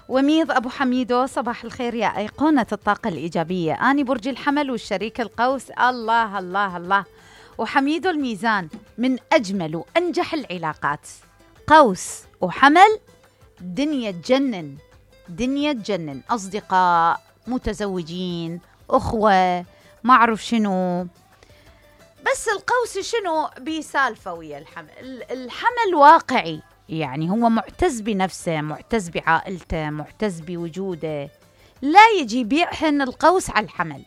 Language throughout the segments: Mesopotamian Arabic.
وميض أبو حميدو، صباح الخير يا أيقونة الطاقة الإيجابية. أنا برج الحمل والشريك القوس. الله الله الله. وحميدو الميزان، من أجمل وأنجح العلاقات. قوس وحمل دنيا تجنن، دنيا تجنن. أصدقاء، متزوجين، أخوة، ما أعرف شنو. بس القوس شنو بيسالفة ويا الحمل. الحمل واقعي، يعني هو معتز بنفسه، معتز بعائلته، معتز بوجوده. لا يجي بيحن القوس على الحمل،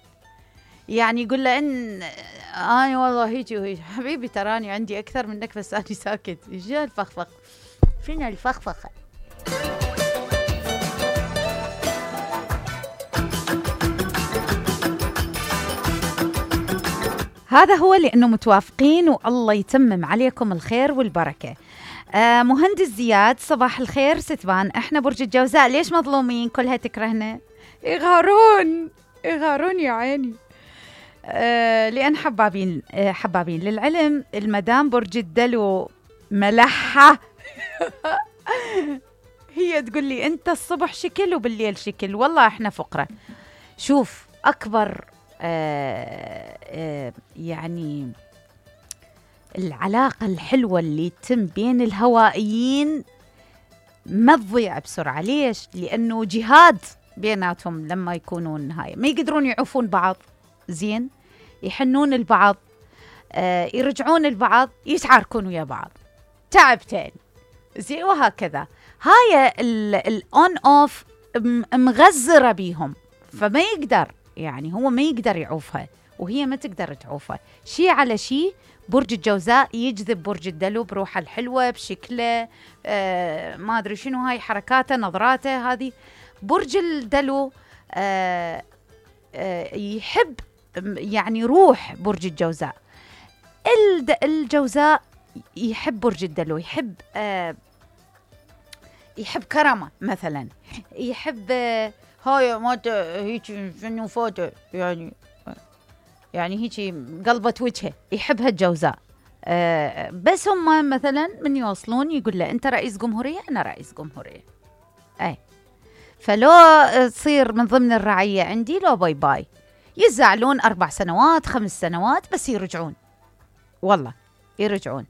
يعني يقول له إن أنا والله هيجي وهيجي. حبيبي تراني عندي أكثر منك بس أنا ساكت. إيش الفخفخ؟ فينا الفخفخة. هذا هو لأنه متوافقين، والله يتمم عليكم الخير والبركة. مهندس زياد، صباح الخير ستبان. احنا برج الجوزاء، ليش مظلومين؟ كلها تكرهنا، يغارون يا عيني. لأن حبابين للعلم. المدام برج الدلو ملحة. هي تقول لي انت الصبح شكل وبالليل شكل. والله احنا فقرة. شوف، أكبر يعني العلاقة الحلوة اللي تتم بين الهوائيين ما تضيع بسرعة. ليش؟ لأنه جهاد بيناتهم. لما يكونون هاي ما يقدرون يعوفون بعض زين، يحنون البعض، يرجعون البعض، يتعاركون ويا بعض تعبتين زين، وهكذا. هاي الأون أوف مغزرة بيهم، فما يقدر، يعني هو ما يقدر يعوفها وهي ما تقدر تعوفه. شيء على شيء. برج الجوزاء يجذب برج الدلو بروحه الحلوة، بشكله، ما أدري شنو، هاي حركاته، نظراته هذه. برج الدلو يحب، يعني روح برج الجوزاء. الجوزاء يحب برج الدلو، يحب كرمه مثلا، يحب هاي ما هيك شنو فوتو، يعني هيك قلبة وجهه، يحبها الجوزاء. بس هم مثلا من يوصلون يقول له أنت رئيس جمهورية، أنا رئيس جمهورية. فلو تصير من ضمن الرعية عندي، لو باي باي. يزعلون 4 سنوات 5 سنوات بس يرجعون، والله يرجعون.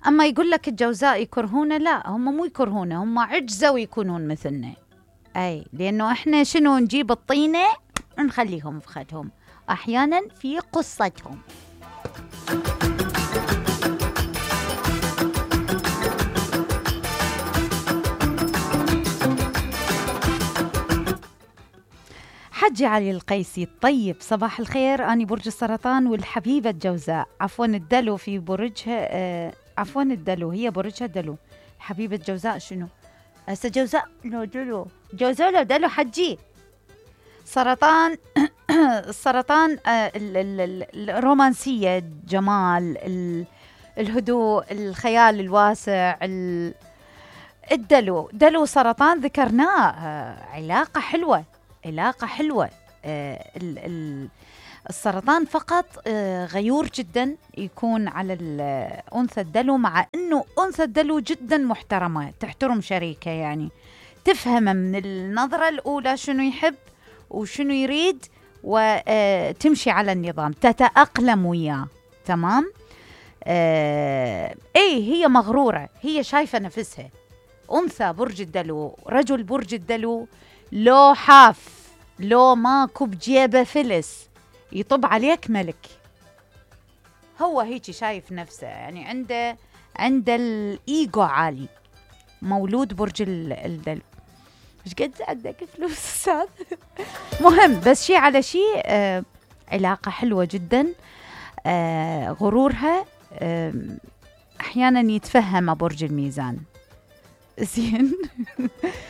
أما يقول لك الجوزاء يكرهونه، لا، هم مو يكرهونه، هم عجزوا يكونون مثلنا. لأنه إحنا شنو نجيب الطينة ونخليهم في خدهم أحيانا في قصتهم. حجي علي القيسي الطيب، صباح الخير. أنا برج السرطان والحبيبة الجوزاء، عفوا الدلو في برجها، عفوا الدلو هي برجها دلو. حبيبة الجوزاء شنو؟ هسه جوزاء لو دلو، جوزاء لو دلو حجي. سرطان. السرطان الرومانسية، الجمال، الهدوء، الخيال الواسع. الدلو، دلو سرطان ذكرناه، علاقة حلوة، علاقة حلوة. السرطان فقط غيور جدا يكون على الأنثى الدلو، مع أنه أنثى الدلو جدا محترمة، تحترم شريكة، يعني تفهم من النظرة الأولى شنو يحب وشنو يريد، وتمشي على النظام، تتأقلم وياه. تمام. هي مغرورة، هي شايفة نفسها. أنثى برج الدلو، رجل برج الدلو، لو حاف، لو ماكو بجيبه فلس، يطب عليك ملك. هو هيك شايف نفسه، يعني عنده الإيجو عالي. مولود برج الدلو. مش قد عندك فلوس أستاذ؟ مهم، بس شيء على شيء. علاقة حلوة جدا. غرورها أحيانا يتفهم برج الميزان زين.